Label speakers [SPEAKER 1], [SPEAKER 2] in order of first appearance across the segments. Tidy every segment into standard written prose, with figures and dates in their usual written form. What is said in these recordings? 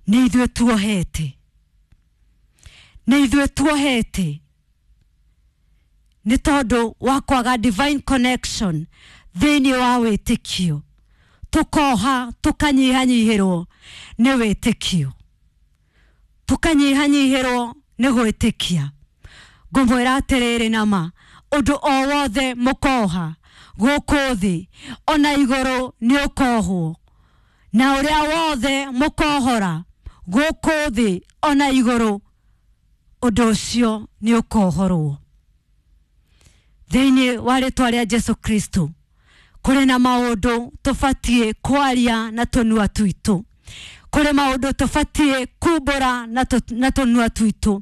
[SPEAKER 1] Nĩ ithuĩ tuohete, nĩ ithuĩ tuohete nĩ tondũ wa kwaga divine connection thĩinĩ wa wĩtĩkio, tũkoha tũkanyihanyihĩrwo nĩ wĩtĩkio, tũkanyihanyihĩrwo nĩ gwĩtĩkia. Ngũmwĩra atĩrĩrĩ, nama ũndũ o wothe mũkoha gũkũ thĩ ona igũrũ nĩ ũkohwo, na ũrĩa wothe mũkohora gũkũ thĩ ona igũrũ ũndũ ũcio nĩ ũkohorwo. Thĩinĩ wa rĩtwa rĩa Jesu Kristo, kũrĩ na maũndũ tũbatiĩ kwaria na tũnua twitũ, kũrĩ maũndũ tũbatiĩ kumbũra na tũnua twitũ,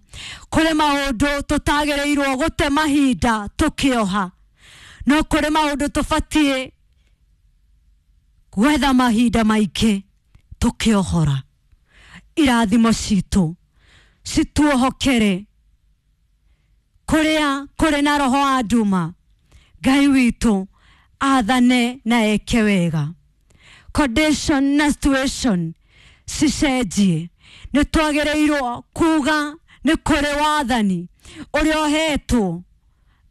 [SPEAKER 1] kũrĩ maũndũ tũtagĩrĩirwo gũte mahinda tũkĩoha, no kũrĩ maũndũ tũbatiĩ gwetha mahinda maingĩ tũkĩohora. Irathimo citũ cituohokere kũrĩa kũrĩ na roho wa nduma. Ngai witũ athane na eke wega, condition na situation cicenjie. Nĩ twagĩrĩirwo kuga nĩ kũrĩ wathani ũrĩa ũhetwo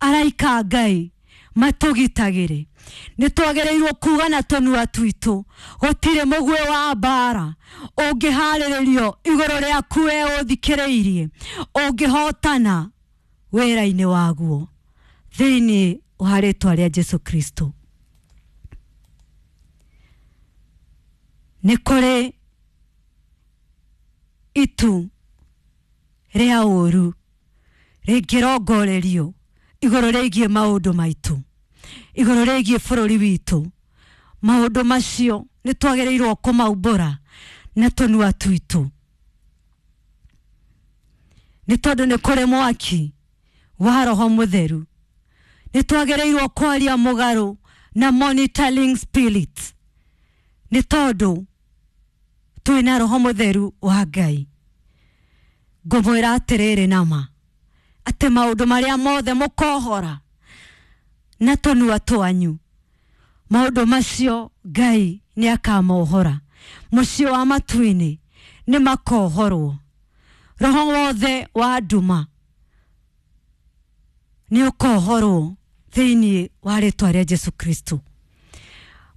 [SPEAKER 1] araika Ngai matũgitagĩre. Nĩ twagĩrĩirwo kuga na tũnua twitũ gũtirĩ mũguĩ wa mbara ũngĩharĩrĩrio igũrũ rĩaku we ũthikĩrĩirie ũngĩhotana wĩra-inĩ waguo thĩinĩ wa rĩtwa rĩa Jesu Kristo. Nĩ kũrĩ itu rĩa ũru rĩngĩrongorerio igũrũ rĩgiĩ maũndũ maitũ, igũrũ rĩgiĩ bũrũri witũ. Maũndũ macio nĩ twagĩrĩirwo kũmaumbũra na tũnua twitũ, nĩ tondũ nĩ kũrĩ mwaki wa Roho Mũtheru. Nĩ twagĩrĩirwo kwaria mũgarũ na monitoring spirit, nĩ tondũ twĩna Roho Mũtheru wa Ngai. Ngũmwĩra atĩrĩrĩ nama atĩ maũndũ marĩa mothe mũkohora na tũnua twanyu, maũndũ macio Ngai nĩ akamohora. Mũciĩ wa matu-inĩ nĩ makohorwo. Roho wothe wa nduma nĩ ũkohorwo thĩinĩ wa rĩtwa rĩa Jesu Kristo.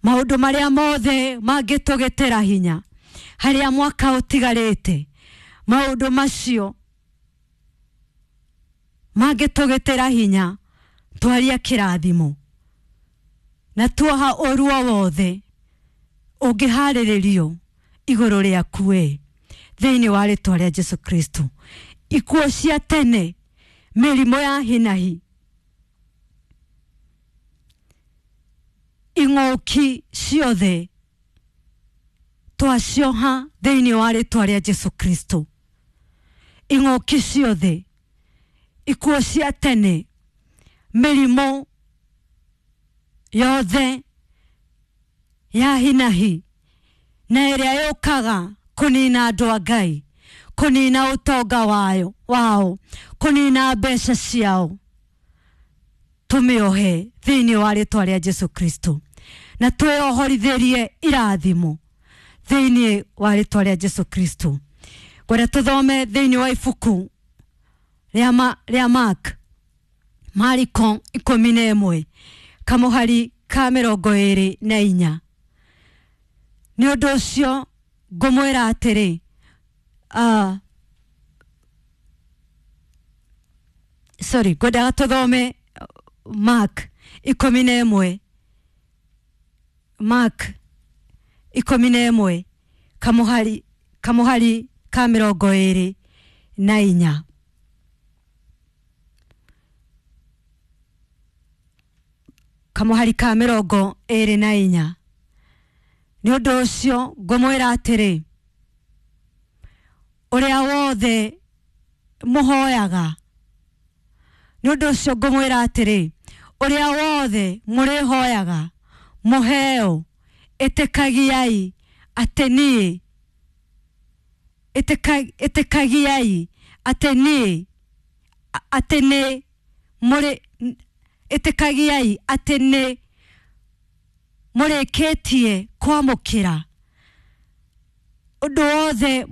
[SPEAKER 1] Maũndũ marĩa mothe mangĩtũgĩtĩra hinya harĩa mwaka ũtigarĩte, maũndũ macio mangĩtũgĩtĩra hinya twaria kĩrathimo na tuoha ũru o wothe ũngĩharĩrĩrio igũrũ rĩaku we thĩinĩ wa rĩtwa rĩa Jesu Kristo. Ikuũ cia tene, mĩrimũ ya hinahi, ing'ũki ciothe twacioha thĩinĩ wa rĩtwa rĩa Jesu Kristo. Ing'ũki ciothe, ikuũ cia tene, mĩrimũ yothe ya hinahi na ĩrĩa yũkaga kũnina andũ a Ngai, kũnina ũtonga wao, kũnina mbeca ciao, tũmĩohe thĩinĩ wa rĩtwa rĩa Jesu Kristo na twĩohorithĩrie irathimo thĩinĩ wa rĩtwa rĩa Jesu Kristo. Ngwenda tũthome thĩinĩ wa ibuku rĩa Mark, Mariko 11 kamũhari ka 24. Nĩ ũndũ ũcio ngũmwĩra atĩrĩ, sorry, ngwendaga tũthome Mark 11, Mark 11 kamũhari ka 24. Kamũhari ka 24. Nĩ ũndũ ũcio ngũmwĩra atĩrĩ, ũrĩa wothe mũhoyaga, nĩ ũndũ ũcio ngũmwĩra atĩrĩ, ũrĩa wothe mũrĩhoyaga mũheo, ĩtĩkagiai atĩ niĩ, ĩtĩkagiai atĩ niĩ, atĩ nĩ mũrĩ, ĩtĩkagiai atĩ nĩ mũrĩkĩtie kwamũkĩra ũndũ wothe.